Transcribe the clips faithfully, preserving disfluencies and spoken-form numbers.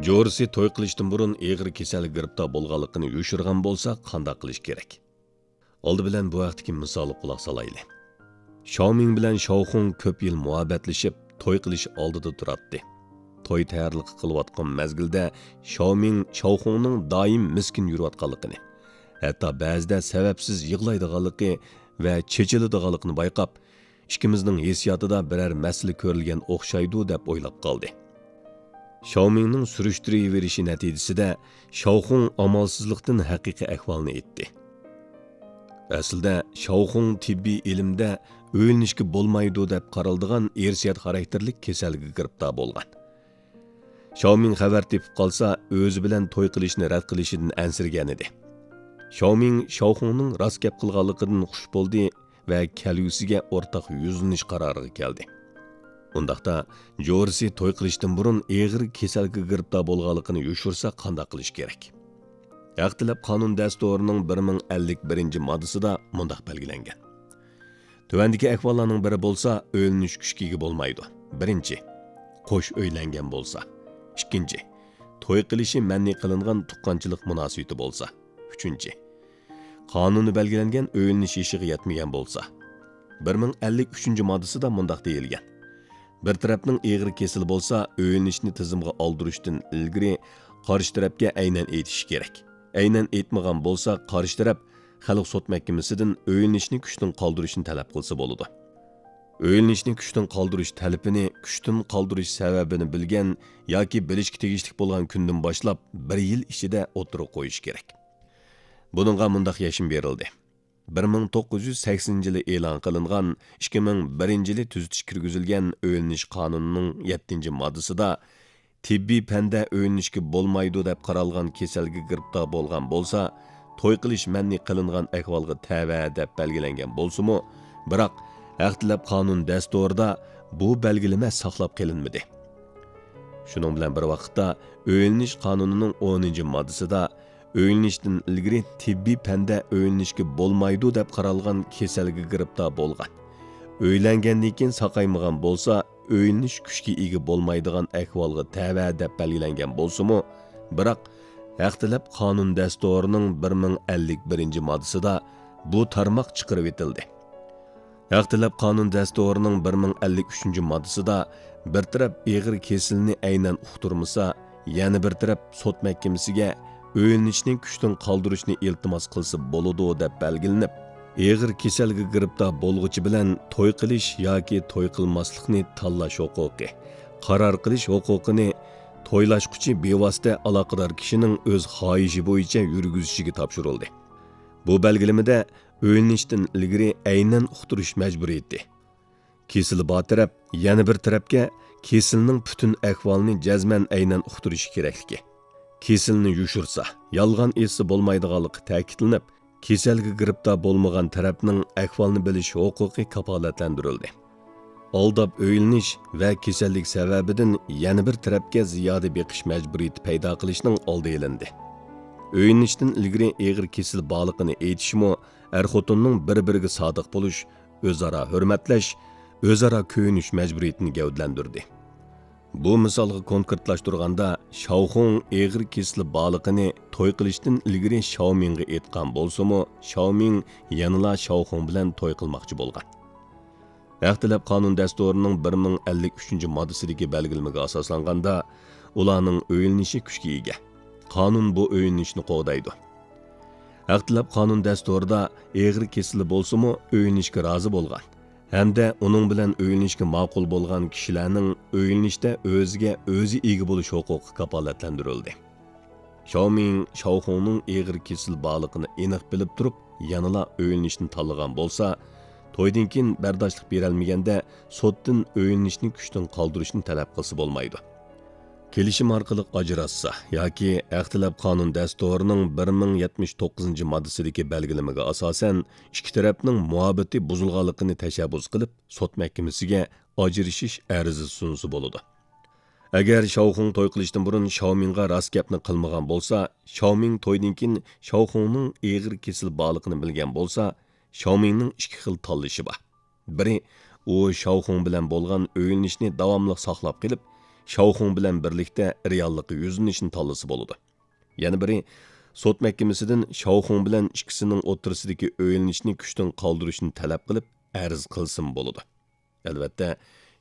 جورىسى توي قىلىشتىن بۇرۇن ئېغىر كېسەلگە گىرىپتار بولغانلىقىنى يوشۇرغان بولسا، قانداق قىلىش كېرەك؟ ئالدى بىلەن بۇ ھەقتىكى مىسالغا قۇلاق سالايلى. شاۋمىڭ بىلەن شاۋخۇڭ كۆپ يىل مۇھەببەتلىشىپ، توي قىلىش ئالدىدا تۇراتتى. توي تەييارلىقى قىلىۋاتقان مەزگىلدە شاۋمىڭ شاۋخۇڭنىڭ دائىم مىسكىن يۈرۈۋاتقانلىقىنى، ھەتتا بەزىدە سەۋەبسىز يىغلايدىغانلىقى ۋە چېچىلىدىغانلىقىنى بايقاپ، ئىككىمىزنىڭ ھېسسىياتىدا بىرەر مەسىلە كۆرۈلگەن ئوخشايدۇ، دەپ ئويلاپ قالدى. شاۋمىڭنىڭ سۈرۈشتۈرۈۋېرىشى نەتىجىسىدە شاۋخۇڭ ئامالسىزلىقتىن ھەقىقىي ئەھۋالنى ئېيتتى. ئەسلىدە شاۋخۇڭ تېببىي ئىلىمدە ئۆيلىنىشكە بولمايدۇ دەپ قارالىدىغان ئىرسىيەت خاراكتېرلىك كېسەلگە گىرىپتار بولغان. شاۋمىڭ خەۋەر تېپىپ قالسا، ئۆزى بىلەن توي قىلىشنى رەت قىلىشىدىن ئەنسىرىگەنىدى. شاۋمىڭ شاۋخۇڭنىڭ راست گەپ قىلغانلىقىدىن خۇش بولدى ۋە كەلگۈسىگە ئورتاق يۈزلىنىش قارارىغا كەلدى. ئۇنداقتا، جورىسى توي قىلىشتىن بۇرۇن ئېغىر كېسەلگە گىرىپتار بولغانلىقىنى يوشۇرسا، قانداق قىلىش كېرەك؟ ھەق تەلەپ قانۇن دەستۇرىنىڭ بىر مىڭ ئەللىك بىرىنچى ماددىسىدا مۇنداق بەلگىلەنگەن: تۆۋەندىكى ئەھۋاللارنىڭ بىرى بولسا، ئۆيلىنىش كۈچكە ئىگە بولمايدۇ. بىرىنچى، قوش ئۆيلەنگەن بولسا. ئىككىنچى، توي قىلىشى مەنئى قىلىنغان تۇغقانچىلىق مۇناسىۋىتى بولسا. ئۈچىنچى، قانۇندا بەلگىلەنگەن ئۆيلىنىش يېشىغا يەتمىگەن بولسا. بىر مىڭ ئەللىك ئۈچىنچى ماددىسىدا مۇنداق دېيىلگەن: بىر تەرەپنىڭ ئېغىر كېسىلى بولسا، ئۆيلىنىشنى تىزىمغا ئالدۇرۇشتىن ئىلگىرى قارشى تەرەپكە ئەينەن ئېيتىشى كېرەك. ئەينەن ئېيتمىغان بولسا، قارشى تەرەپ خەلق سوت مەھكىمىسىدىن ئۆيلىنىشنى كۈچتىن قالدۇرۇشنى تەلەپ قىلسا بولىدۇ. ئۆيلىنىشنى كۈچتىن قالدۇرۇش تەلىپىنى كۈچتىن قالدۇرۇش سەۋەبىنى بىلگەن ياكى بىلىشكە تېگىشلىك بولغان كۈندىن باشلاپ بىر يىل ئىچىدە ئوتتۇرىغا قويۇش كېرەك. بۇنىڭغا مۇنداق يەشمە بېرىلدى: بىر مىڭ توققۇز يۈز سەكسىنىنچى يىلى ئېلان قىلىنغان، ئىككى مىڭ بىرىنچى يىلى تۈزىتىش كىرگۈزۈلگەن ئۆيلىنىش قانۇنىنىڭ يەتتىنچى ماددىسىدا تېببىي پەندە ئۆيلىنىشكە بولمايدۇ دەپ قارالغان كېسەلگە گىرىپتار بولغان بولسا، توي قىلىش مەنئى قىلىنغان ئەھۋالغا تەۋە دەپ بەلگىلەنگەن بولسىمۇ، بىراق ھەق تەلەپ قانۇن دەستۇرىدا بۇ بەلگىلىمە ساقلاپ قېلىنمىدى. شۇنىڭ بىلەن بىر ۋاقىتتا، ئۆيلىنىش قانۇنىنىڭ ئونىنچى ماددىسىدا ئۆيلىنىشتىن ئىلگىرى تېببىي پەندە ئۆيلىنىشكە بولمايدۇ دەپ قارالغان كېسەلگە گىرىپتار بولغان، ئۆيلەنگەندىن كېيىن ساقايمىغان بولسا، ئۆيلىنىش كۈچكە ئىگە بولمايدىغان ئەھۋالغا تەۋە دەپ بەلگىلەنگەن بولسىمۇ، بىراق ھەق تەلەپ قانۇن دەستۇرىنىڭ بىر مىڭ ئەللىك بىرىنچى ماددىسىدا بۇ تارماق چىقىرىۋېتىلدى. ھەق تەلەپ قانۇن دەستۇرىنىڭ بىر مىڭ ئەللىك ئۈچىنچى ماددىسىدا بىر تەرەپ ئېغىر كېسىلىنى ئەينەن ئۇقتۇرمىسا، يەنە بىر تەرەپ سوت مەھكىمىسىگە ئۆيلىنىشنى كۈچتىن قالدۇرۇشنى ئىلتىماس قىلسا بولىدۇ، دەپ بەلگىلىنىپ، ئېغىر كېسەلگە گىرىپتار بولغۇچى بىلەن توي قىلىش ياكى توي قىلماسلىقنى تاللاش ھوقۇقى، قارار قىلىش ھوقۇقىنى تويلاشقۇچى بىۋاسىتە ئالاقىدار كىشىنىڭ ئۆز خاھىشى بويىچە يۈرگۈزۈشىگە تاپشۇرۇلدى. بۇ بەلگىلىمىدە ئۆيلىنىشتىن ئىلگىرى ئەينەن ئۇقتۇرۇش مەجبۇرىيىتى، كېسىلى بار تەرەپ يەنە بىر تەرەپكە كېسىلىنىڭ پۈتۈن ئەھۋالىنى جەزمەن ئەينەن ئۇقتۇرۇشى كېرەكلىكى، كېسىلىنى يوشۇرسا، يالغان ئېيتسا بولمايدىغانلىقى تەكىتلىنىپ، كېسەلگە گىرىپتار بولمىغان تەرەپنىڭ ئەھۋالنى بىلىش ھوقۇقى كاپالەتلەندۈرۈلدى. ئالداپ ئۆيلىنىش ۋە كېسەللىك سەۋەبىدىن يەنە بىر تەرەپكە زىيادە بېقىش مەجبۇرىيىتى پەيدا قىلىشنىڭ ئالدى ئېلىندى. ئۆيلىنىشتىن ئىلگىرى ئېغىر كېسىل بارلىقىنى ئېيتىشمۇ ئەر-خوتۇننىڭ بىر-بىرىگە سادىق بولۇش، ئۆزئارا ھۆرمەتلەش، ئۆزئارا كۆيۈنۈش مەجبۇرىيىتىنى گەۋدىلەندۈردى. بۇ مىسالغا كونكرېتلاشتۇرغاندا، شاۋخۇڭ ئېغىر كېسىلى بارلىقىنى توي قىلىشتىن ئىلگىرى شاۋمىڭغا ئېيتقان بولسىمۇ، شاۋمىڭ يەنىلا شاۋخۇڭ بىلەن توي قىلماقچى بولغان. ھەق تەلەپ قانۇن دەستۇرىنىڭ بىر مىڭ ئەللىك ئۈچىنچى ماددىسىدىكى بەلگىلىمىگە ئاساسلانغاندا، ئۇلارنىڭ ئۆيلىنىشى كۈچكە ئىگە. قانۇن بۇ ئۆيلىنىشنى قوغدايدۇ. ھەق تەلەپ قانۇن دەستۇرىدا ئېغىر كېسىلى بولسىمۇ ئۆيلىنىشكە رازى بولغان ھەمدە ئۇنىڭ بىلەن ئۆيلىنىشكە ماقۇل بولغان كىشىلەرنىڭ ئۆيلىنىشتە ئۆزىگە ئۆزى ئىگە بولۇش ھوقۇقى كاپالەتلەندۈرۈلدى. شاۋمىڭ شاۋخۇڭنىڭ ئېغىر كېسىل بارلىقىنى ئېنىق بىلىپ تۇرۇپ، يەنىلا ئۆيلىنىشنى تاللىغان بولسا، تويدىن كېيىن بەرداشلىق بېرەلمىگەندە، سوتتىن ئۆيلىنىشنى كۈچتىن قالدۇرۇشنى تەلەپ قىلسا بولمايدۇ. كېلىشىم ئارقىلىق ئاجراشسا ياكى ھەق تەلەپ قانۇن دەستۇرىنىڭ بىر مىڭ يەتمىش توققۇزىنچى ماددىسىدىكى بەلگىلىمىگە ئاساسەن، ئىككى تەرەپنىڭ مۇھەببىتى بۇزۇلغانلىقىنى تەشەببۇس قىلىپ، سوت مەھكىمىسىگە ئاجرىشىش ئەرزى سۇنسا بولىدۇ. ئەگەر شاۋخۇڭ توي قىلىشتىن بۇرۇن شاۋمىڭغا راست گەپنى قىلمىغان بولسا، شاۋمىڭ تويدىن كېيىن شاۋخۇڭنىڭ ئېغىر كېسىل بارلىقىنى بىلگەن بولسا، شاۋمىڭنىڭ ئىككى خىل تاللىشى بار. بىرى، ئۇ شاۋخۇڭ بىلەن بولغان ئۆيلىنىشنى داۋاملىق ساقلاپ قېلىپ، شاۋخۇڭ بىلەن بىرلىكتە رېئاللىققا يۈزلىنىشنى تاللىسا بولىدۇ. يەنە بىرى، سوت مەھكىمىسىدىن شاۋخۇڭ بىلەن ئىككىسىنىڭ ئوتتۇرىسىدىكى ئۆيلىنىشنى كۈچتىن قالدۇرۇشنى تەلەپ قىلىپ ئەرز قىلسىمۇ بولىدۇ. ئەلۋەتتە،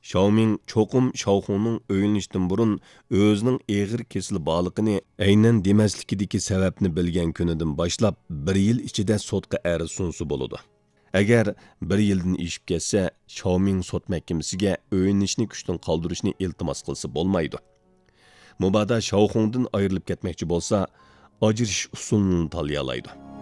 شاۋمىڭ چوقۇم شاۋخۇڭنىڭ ئۆيلىنىشتىن بۇرۇن ئۆزىنىڭ ئېغىر كېسىلى بارلىقىنى ئەينەن دېمەسلىكىدىكى سەۋەبنى بىلگەن كۈنىدىن باشلاپ بىر يىل ئىچىدە سوتقا ئەرز سۇنسا بولىدۇ. ئەگەر بىر يىلدىن ئېشىپ كەتسە، شاۋمىڭ سوت مەھكىمىسىگە ئۆيلىنىشنى كۈچتىن قالدۇرۇشنى ئىلتىماس قىلسا بولمايدۇ. مۇبادا شاۋخۇڭدىن ئايرىلىپ كەتمەكچى بولسا، ئاجرىشىش ئۇسۇلىنى تاللىيالايدۇ.